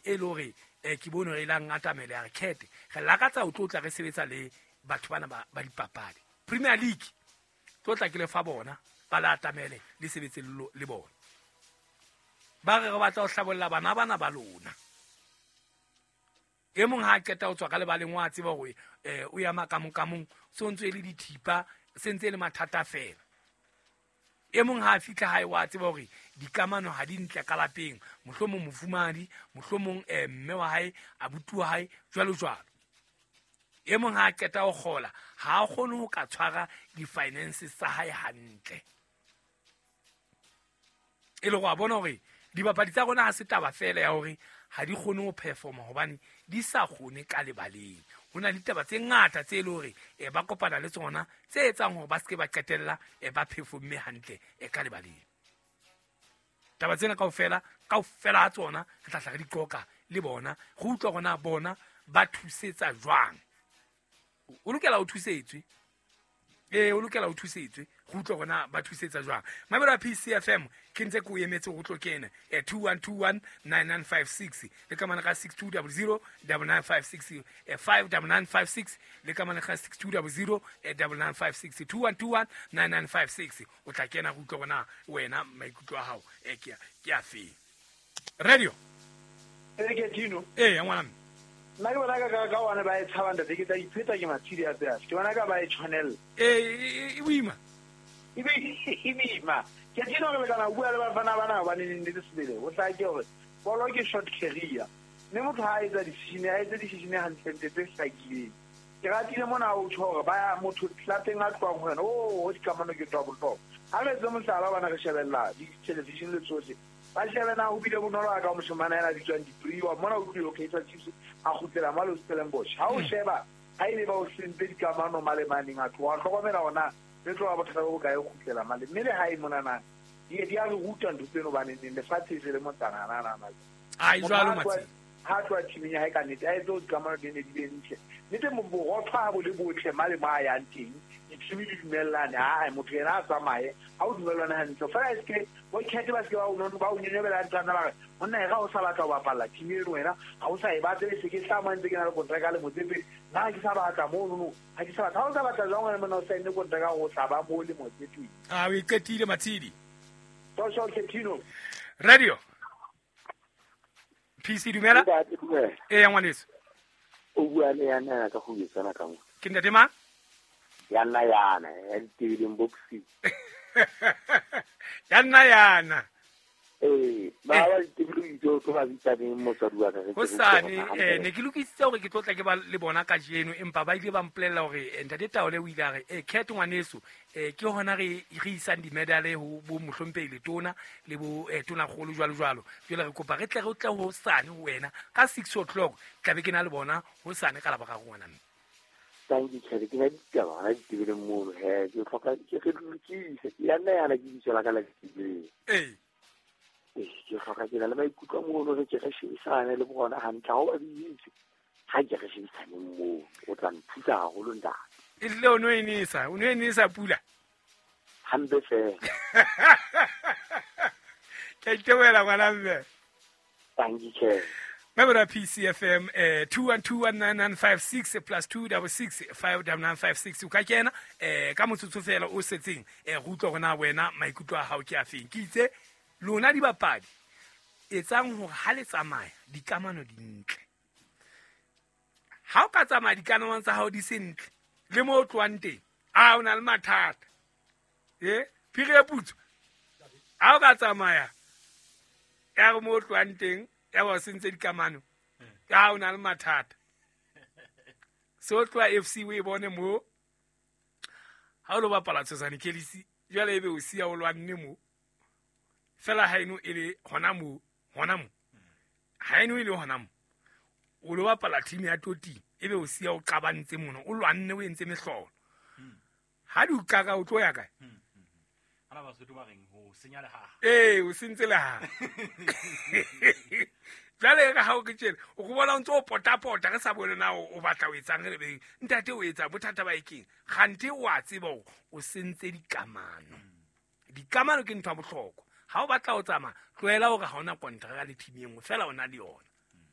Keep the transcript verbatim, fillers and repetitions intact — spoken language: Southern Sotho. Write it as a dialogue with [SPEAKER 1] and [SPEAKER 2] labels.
[SPEAKER 1] e le hore eh ke bone re ilang atamele ya re khethe re lakatsa ho tlotla re sebetsa le batho bana ba ba dipapadi Premier League tlotla ke le fa bona ba la atamele le sebetse le bona ba re re batla ho hlabolla bana bana ba lona e mong ha qeta ho tswa ka lebaleng wa tseba hore eh o ya makamong kamong so ntse le dithipa sentse le mathata fela e mong ha fihla hae wa tseba hore dikamano ha di ntle ka lapeng mohlomong mofumadi mohlomong eh mme wa hae abuti wa hae jwalo jwalo e mong ha qeta ho kgola ha a kgone ho ka tshwara di-finances tsa hae hantle e le go a bona hore dibapadi tsa rona ha se taba fela ya hore ha di kgone ho performa hobane di sa kgone ka lebaleng ho na le ditaba tse ngata tse le hore e ba kopana le tsona tse etsang hore ba seke ba qetella e ba performe hantle e ka lebaleng taba tsena kaofela kaofela ha tsona re tla tla re di qoqa le bona re utlwa rona bona ba thusetsa jwang o lokela o thusetswe eh o lokela o thusetswe go utlwa rona ba thusetsa jwang mabelo a P C F M ke ntse ke o emetse go tlo kena eh two one two one nine nine five six le ka mana ka six two zero zero nine nine five six eh five nine nine five six le ka mana ka six two zero zero nine nine five six two one two one nine nine five six o tla kena go utlwa rona wena maikutlo a hao eh ke ke a fe radio
[SPEAKER 2] e ke Tino
[SPEAKER 1] eh ya ngwana
[SPEAKER 2] nna ke bona ka ka ka one ba e tshabang ntate ke tla ipheta ke matshidi a tsaya ke bona ka ba e tshwanela
[SPEAKER 1] eh e boima
[SPEAKER 2] e be e boima ke Tino re lekana ho bua le bafana bana hobane nnete sebele o tla ke hore bolo ke short career mme motho ha a etsa decision a etse decision hantle ntle tse hlakileng ke ratile mona o tjho hore ba motho lapeng a tloang ho yena o dikamano ke twa bohlokwa ha re etse mohlala bana re shebella di-television le tsohle ba shebe na ho bile bonolo a ka moshemane ena bitswang Dipriwa mona o tlile Kaizer Chiefs a kgutlela male Stellenbosch ha o sheba ha ile ba o sentse dikamano male maneng a tloha hlokomela ona le tloha bothata bo kae kgutlela male mme le hae mona na di di a re ruta ntho tseno bane neng lefatshe se le motsana na na na
[SPEAKER 1] ai jwalo matsi
[SPEAKER 2] ha tloha teaming ya hae ka nnete a etse dikamano di ne di be ntle nnete borotho ha bo le botle male mo a yang teng di-team di dumellane ha motho yena a tsamaye ha o dumellane hantle fela e seke bo khethe ba seke ba o ba o nyenyobela nthana ba re monna e ga o sa batla ho bapalla team eno wena ha o sa e batle e se ke tla mo ntse ke na le kontraka le Motsepe nna ke sa batla mono ha ke sa batla ha o sa batla jwang wena monna o saenne kontraka o tla ba mo le Motsepe
[SPEAKER 1] a o iqetile Matshidi
[SPEAKER 2] social Tino
[SPEAKER 1] radio P C dumela eh ya ngwaneso
[SPEAKER 3] o bua le yana ka go etsana ka mo
[SPEAKER 1] ke ntate mang
[SPEAKER 3] ya nna yana ya ditebeleng boxing
[SPEAKER 1] ya nna yana
[SPEAKER 3] eh ba ba ditebeleng tso tlo ba bitsa neng motswadi wa ka
[SPEAKER 1] ho sane eh ne ke lokisitse hore ke tlotla ke ba le bona kajeno empa ba ile ba mpolella hore ntate Taole o ile a re eh Cat ngwaneso eh ke hona re re isang di-medal ho bo mohlomphehi letona le bo eh tona kgolo jwalo jwalo jwale re kopa re tle re tle ho sane ho wena ka six o'clock tla be ke na le bona ho sane ka laba ga ngwana mme
[SPEAKER 3] thank you Cat ke na ditaba hona ditebeleng mono he ke hloka ke re lokise ya nna yana ke bitso la ka la ditebeleng
[SPEAKER 1] eh
[SPEAKER 3] ke hloka ke na le maikutlo mono re ke re shebisane le bona hantle ha o ba bitse ha ke re shebisane moo o tla nthusa haholo ntate
[SPEAKER 1] e le o no enisa o no enisa pula
[SPEAKER 3] hampe fela
[SPEAKER 1] ke itebela ngwana mme
[SPEAKER 3] thank you Cat
[SPEAKER 1] Member P C F M eh two one two one nine nine five six plus two six six five nine nine five six o ka kena eh ka motsotso fela o setseng eh re utlwa rona wena maikutlo a hao ke a feng ke itse lona dibapadi etsang hore ha le tsamaya dikamano di ntle ha o ka tsamaya dikamano tsa hao di se ntle le mo o tloang teng a o na le mathata eh phiri ya putso ha o ka tsamaya ya mo o tloang teng ya ba sentse dikamano ha o na le mathata so tloa F C o e bone mo ha o lo bapala Tshosane Kelisi jwale ebe o siya o lwanne mo fela ha eno e le hona mo hona mo ha eno e le hona mo o lo bapala team ya Toti ebe o siya o qabantse mona o lwanne o entse mehlolo ha di uqaka o tlo ya kae
[SPEAKER 4] ana ba Sotho ba reng ho senya lehaha
[SPEAKER 1] eh o sentse lehaha jwale ka ha o ke tjena o go bona o ntse o potapota re sa bone na o batla o etsang re beng ntate o etsa bothata ba ekeng kgante o a tseba hore o sentse dikamano dikamano ke ntho ya bohlokwa ha o batla o tsamaya tlohela hore ha ona kontraka le team e nngwe fela o na le yona